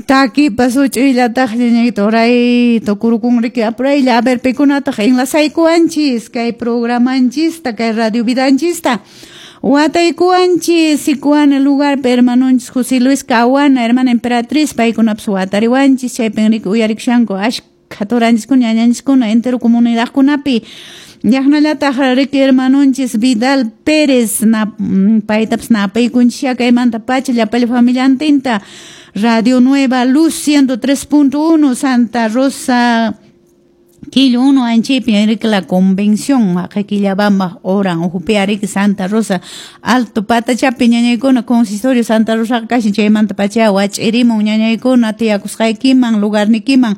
Takipas huch'uyllataq ñañayta uray tukurukun riki apuraylla. A ver, pikunataq enlazaykuwanchis kay programanchista, kay radio vidanchista. Wataykuwanchis Sicuana lugarpi hermanonchis José Luis Cahuana, hermana Emperatriz, paykunapas watariwanchis, chaypin riki uyarikushanku ashkha turanchiskuna, ñañanchiskuna, entero comunidadkunapi. Yaqnallataq riki hermanonchis Vidal Pérez, na, paytapas napaykunchis kaymanta pacha llapalla familiantinta. Radio Nueva Luz 103.1 Santa Rosa Quillo 1 anchipi riki la convención haqay Quillabamba oran uhupi riki Santa Rosa Alto Patachapi ñañaykuna consistorio Santa Rosa kashan chaymanta pacha wach'irimun ñañaykuna tiyakusqaykiman lugarnikiman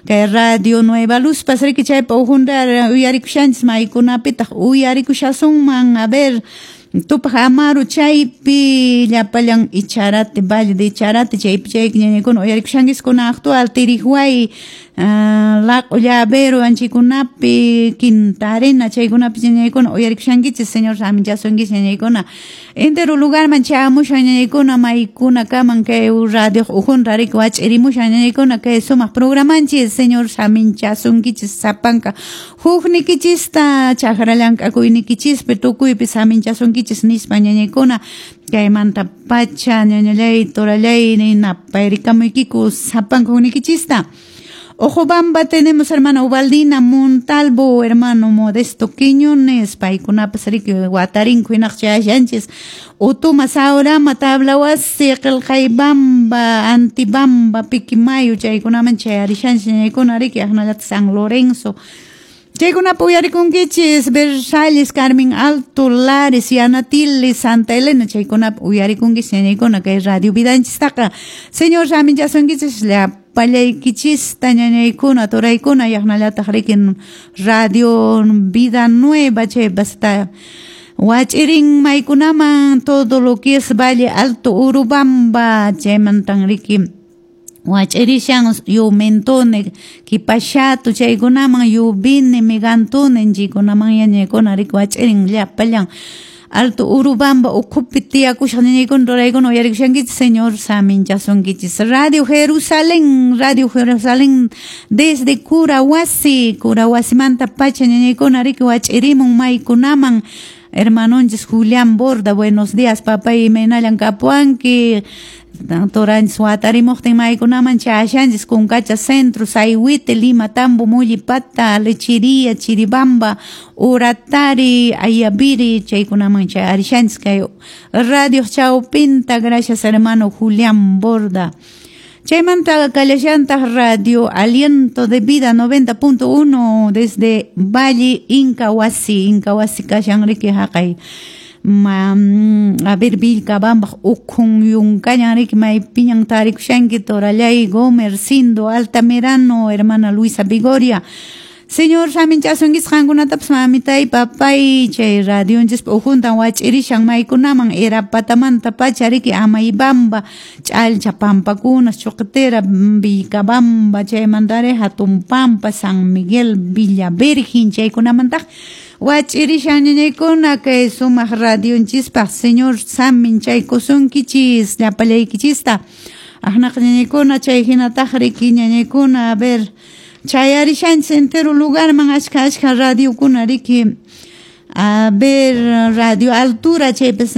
kay Radio Nueva Luz pas riki chaypa uhunta uyarikushanchis maykunapitaq uyarikushasunman. A ver, Tupaj Amaru chaypi llapallan Icharate, Valle de Icharate chaypi chayki ñañaykuna uyarikushankiskuna actual Tirihuay, Laq'o Llavero anchikunapi Quinta Arena chaykunapi ñañaykuna uyarikushankichis. Señor saminchasunkichis ñañaykuna entero lugarman chayamushan ñañaykuna maykunakaman kay radio uhunta riki wach'irimushan ñañaykuna kay sumaq programanchis. Señor saminchasunkichis sapanka huknikichista chakra llank'akuynikichispi tukuypi saminchasunkichis nispa ñañaykuna kaymanta pacha ñañallay torallay napayrikamuykiku sapanka huknikichista. Ojobamba tenemos hermana Ubaldina Montalvo, hermano Modesto Quiñones, paykunapas riki watarinku hinaq chayashanchis. Utuma Saurama, Tablawasi, Qillqaybamba, Antibamba, Piquimayo, chaykunaman chayarishanchis ñañaykuna riki aqnallataq San Lorenzo. Chaykunapi uyarikunkichis Versalles, Carmen Alto, Lares, Yanatili, Santa Elena, chaykunapi uyarikunkichis ñañaykuna kay radio vidanchistaqa. Señor saminchasunkichis llapallaykichista ñañaykuna, turaykuna, yaqnallataq riki Radio Vida Nueva chaypasta wach'irin maykunaman todo lo que es Valle Alto, Urubamba, chaymantan riki wach'irishan Yumentone, Kipashato, chaykunaman Yubine, Megantone, chaykunaman ñañaykuna riki wach'irin llapallan Alto Urubamba ukhupi tiyakushaq ñañaykuna turaykuna uyarikushankichis. Señor saminchasunkichis. Radio Jerusalén, Radio Jerusalén desde Curahuasi, Curahuasimanta pacha ñañaykuna riki wach'irimun maykunaman. Hermanonchis Julián Borda, buenos días papay, imaynallan kapuwanki. Turanchis watarimuqtin maykunaman chayashanchis Kunkacha Centro, Sayhuite, Lima, Tambo, Mullipata, Lechería, Chiribamba, Uratari, Ayaviri, chaykunaman chayarishanchis kay Radio Chawpinta. Gracias, hermano Julián Borda. Chaymanta kallashantaq Radio Aliento de Vida 90.1 desde Valle Incahuasi, Incahuasi kashan riki haqay a ver, Vilcabamba ukhun yunkallan riki maypiñan tarikushanki torallay Gomercindo Altamirano, hermana Luisa Vigoria. Señor saminchasunkichis qankunatapas mamitay papay chay radionchispa ukhuntan wach'irishan maykunaman Erapatamanta pacha riki Amaybamba, Ch'alcha pampakuna, Chuqtera, Vilcabamba, chaymantari Hatun Pampa, San Miguel, Villa Virgen, chaykunamantaq wach'irishan ñañaykuna kay sumaq radionchispaq. Señor saminchaykusunkichis llapallaykichista. Aqnaqa ñañaykuna chay hinataq riki ñañaykuna, a ver, chayarishanchis entero lugarman ashka ashka radiokuna riki. A ver, Radio Altura chaypas.